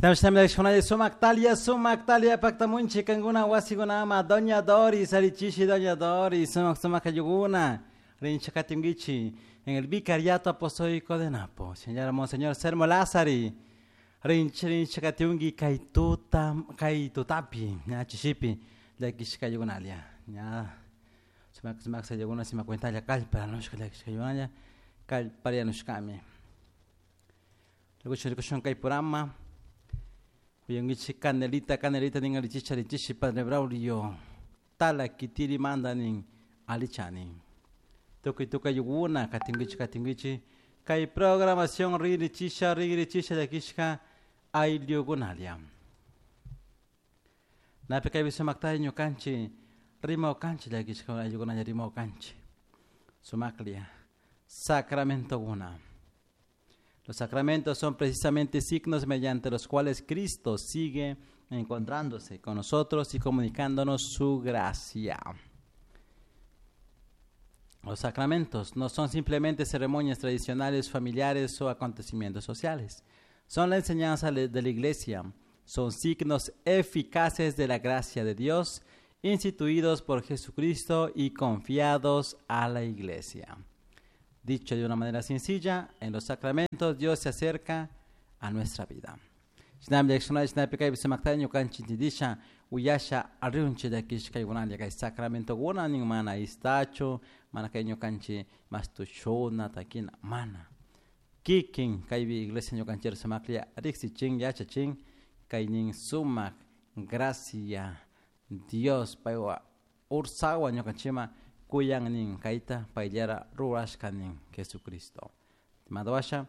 Sumaktalia, sumaktalia paktamunchi kankuna wasikunama Doña Doris, arichishi Doña Doris, sumak sumak ayllukuna, rinchik katinkichik en el Vicariato Apostólico de Napo. Señora Monseñor Sermo Lázari, rinchi rinchi katinki kay tuta, kay tutapi, ña chishipi, llakishka ayllikunalia, ña sumak sumak ayllukuna sima cuentalla kallparanushka llakishka ayllunalla, kallparianushkami. Rikushun rikushun kay programa, Uyungichi canelita, canelita nin alichicha alichishi Padre Braulio, tala kitiri manda nin alichani. Tukuy tukuy ayllukuna, katinkichi katinkichi, kay programación rigrichisha rigrichisha llakishka ayllukunalia. Napi kaypi sumaktalla ñukanchik rimawkanchik llakishka ayllukunalla rimawkanchik. Sumaklia, sacramentokuna. Los sacramentos son precisamente signos mediante los cuales Cristo sigue encontrándose con nosotros y comunicándonos su gracia. Los sacramentos no son simplemente ceremonias tradicionales, familiares o acontecimientos sociales. Son la enseñanza de la Iglesia. Son signos eficaces de la gracia de Dios, instituidos por Jesucristo y confiados a la Iglesia. Dicho de una manera sencilla, en los sacramentos Dios se acerca a nuestra vida. Uyasha arriunchi llakishkaykunalla kay sacramentokuna nin mana istachu, mana kay ñukanchik mastushuna takina, mana. Kikin kaypi iglesia ñukanchik sumaklla riksichin yachachin kay nin sumak gracia Dios paywa ursawa ñukanchikman kuyan nin kayta payllara rurashka nin Jesucristo. Madwasha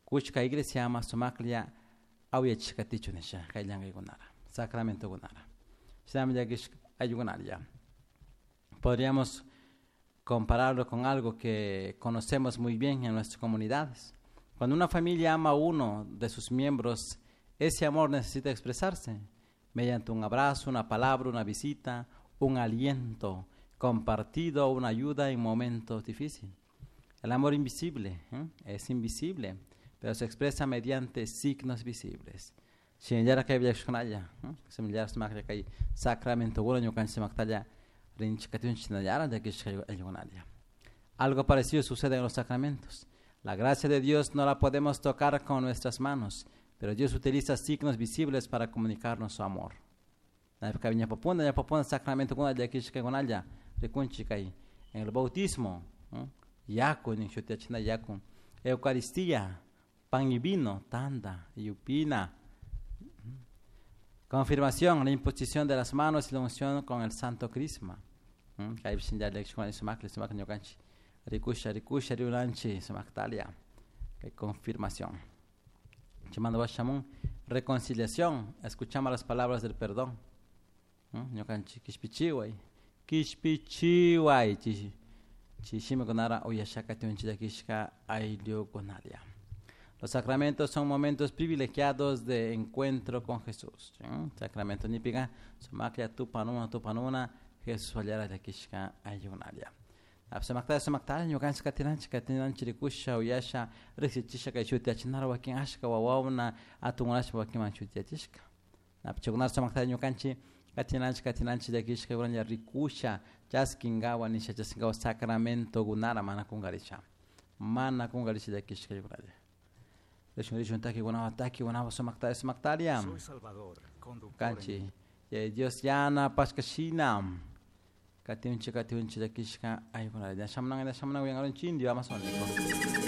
kuchka iglesiama sumaklla awyachishkatichu nisha kay llankaykunara, sacramentokunara. Shinami llakishka ayllukunalla. Podríamos compararlo con algo que conocemos muy bien en nuestras comunidades. Cuando una familia ama a uno de sus miembros, ese amor necesita expresarse mediante un abrazo, una palabra, una visita, un aliento compartido, una ayuda en momentos difíciles. El amor invisible, ¿eh? Es invisible, pero se expresa mediante signos visibles. Shinallara kay villakushkunalla, similar sumaklla kay sacramentokuna ñukanchik sumaktalla rinchik katunchik shinallara llakishka ayllukunalla. Algo parecido sucede en los sacramentos. La gracia de Dios no la podemos tocar con nuestras manos, pero Dios utiliza signos visibles para comunicarnos su amor. Ñapapuna, ñapapuna sacramentokuna llakishkakunalla rikunchik kay en el bautismo, yaku nin shutiyachina yaku, Eucaristía, pan y vino, tanda y upina. Confirmación, la imposición de las manos y la unción con el santo crisma. Kaypi shinallara llakishkuna sumakli, sumakli ñukanchik rikusha, rikusha, riunanchik sumaktalia. Kay confirmación. Chaymanta washamun reconciliación, escuchamos las palabras del perdón. Ñukanchik kishpichiway, kishpichiway, chay shimikunara uyashaka tunchik llakishka ayllukunalia. Los sacramentos son momentos privilegiados de encuentro con Jesús. Sacramento nipika, sumaklla tupanuna, tupanuna, Jesús wallara llakishka ayllukunalia. Sumakta, sumakta, ñukanchik katinanchik, katinanchik rikusha, uyasha, riksichisha kay shutiyachinara wakin ashka wawawna, atunkunashpa wakinman shutiyachishka. Chaykunara sumakta ñukanchik katinanchik, katinanchik llakishka uralla rikusha, chaskinkawa nisha, chaskinkawa sacramentokunara mana kunkarisha. Mana kunkarisha llakishka ayllukunalla. Rishun, rishun, takikunawan, takikunawan, sumakta, sumaktaria. Soy Salvador, conductor Kanchi, Dios yana pashkashina. Katinchi, katinchi, llakishka ayllukunalla. Shamunanga, shamunanga, uyankaronchik indio amazónico.